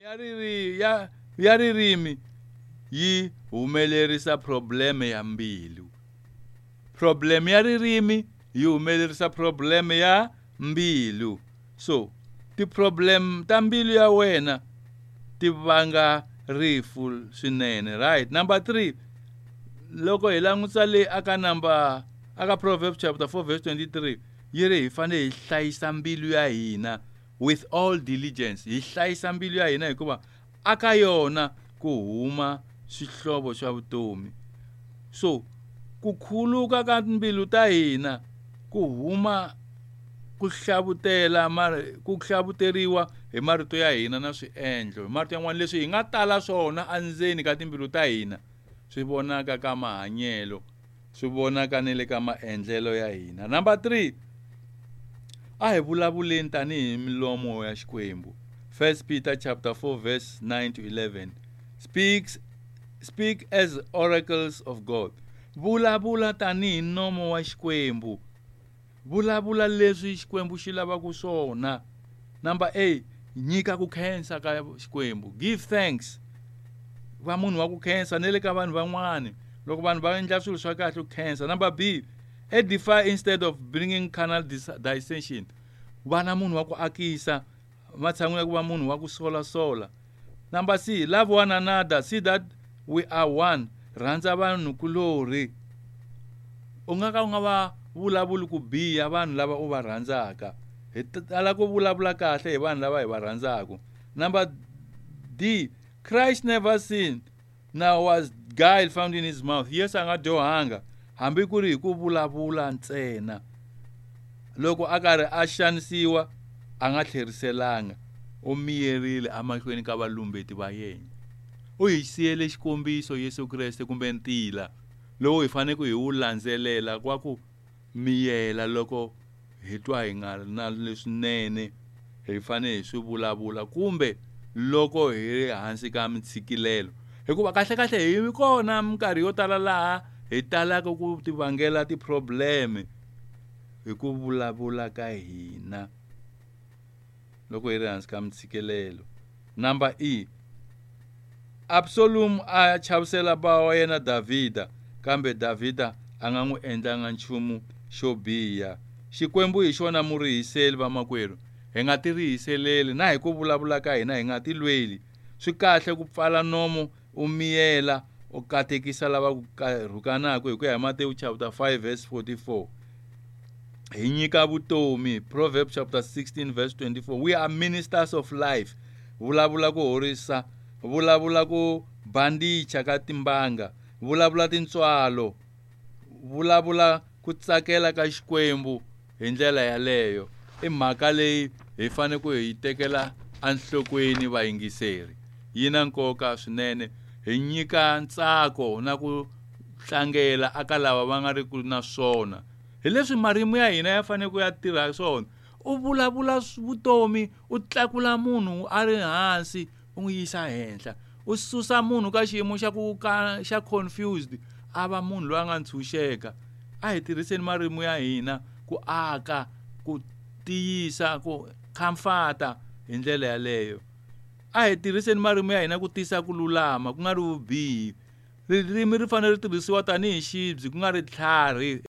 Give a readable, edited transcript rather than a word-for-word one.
Ya riri ya ya ririmi yi humelerisa problem ya mbilu. Problem ya ririmi yi humelerisa problem ya mbilu. So ti-problem ta mbilu ya wena ti vanga rifu swinene, right? Number 3, loko hi langutisa le aka number aka Proverbs chapter 4 verse 23, yi ri hi fanele hi hlayisa mbilu ya hina with all diligence. Hi hlayisa mbilu ya hina hikuva aka yona ku huma swihlovo swa vutomi. So ku khuluka ka mbilu ta hina ku huma ku hlavutela ku hlavuteriwa hi marito ya hina na swiendlo. Hi marito yan'wana, leswi hi nga tala swona endzeni ka timbilu ta hina swi vonaka ka mahanyelo, swi vonaka ni le ka maendlelo ya hina. Number 3, a hi vulavuleni tanihi milomo ya Xikwembu. 1 Peter chapter 4 verse 9 to 11 speak as oracles of God. Vulavula tanihi nomo wa Xikwembu. Vulavula leswi Xikwembu xi lavaka swona. Number 8, nyika ku khensa ka Xikwembu. Give thanks. Va munhu wa ku khensa ne le ka vanhu van'wani. Loko vanhu va endla swilo swa kahle u khensa. Number B, edify instead of bringing carnal dissension. Va na munhu wa ku akisa matshan'wini ya ku va munhu wa ku solasola. Number C, love one another, see that we are one. Rhandza vanhu kulorhi. U nga ka u nga va vulavuli ku biha vanhu lava u va rhandzaka. Hi tala ku vulavula kahle hi vanhu lava hi va rhandzaka. Number D, Christ never sinned, nor was guile found in his mouth. Yesu a nga dyohanga hambi ku ri hi ku vulavula ntsena. Loko a karhi a xanisiwa a nga tlheriselanga, u miyerile emahlweni ka valumbeti va yena. U hi siyele xikombiso Yesu Kreste kumbe ntila lowu hi faneleke hi wu landzelela wa ku miyela loko hi twa hi nga ri na leswinene hi fanele hi swi vulavula kumbe loko hi ri hansi ka mintshikilelo. Hikuva kahle kahle hi kona minkarhi yo tala laha hi talaka ku tivangela ti-problem hi ku vulavula ka hina loko hi ri hansi ka mintshikilelo. Number E, Absalom a chavisela bava wa yena Davhida, kambe Davhida a nga n'wi endlanga nchumu xo biha. Xikwembu hi xona murihiseli, vamakwerhu. Hi nga tirihiseleli na hi ku vulavula ka hina hi nga tilweli. Swi kahle ku pfala nomo u miyela u katekisa lava ku rhukanaka hi ku ya hi Matewu chapter 5 verse 44. Hi nyika vutomi, Proverbs chapter 16 verse 24. We are ministers of life. Vulavula ku horisa, vulavula ku bandicha ka timbanga, vulavula tintswalo, vulavula ku tsakela ka Xikwembu hi ndlela yaleyo. I mhaka leyi hi fanele ku hi tekela enhlokweni vayingiseri. Yi na nkoka swinene. Hi nyika ntsako na ku tlangela aka lava va nga ri ku na swona. Hi leswi marimi ya hina ya fanele ku ya tirha swona. U vulavula vutomi, u tlakula munhu a ri hansi u n'wi yisa henhla. U susa munhu ka xiyimo xa ku ka xa confused a va munhu loyi a nga ntshunxeka. A hi tirhiseni marimi ya hina ku aka, ku tiyisa, ku comforta hi ndlela yaleyo. A hi tirhiseni marimi ya hina ku tisa ku lulama, ku nga ri vubihi. Ririmi ri fanele ri tirhisiwa tanihi xibye ku nga ri tlhari.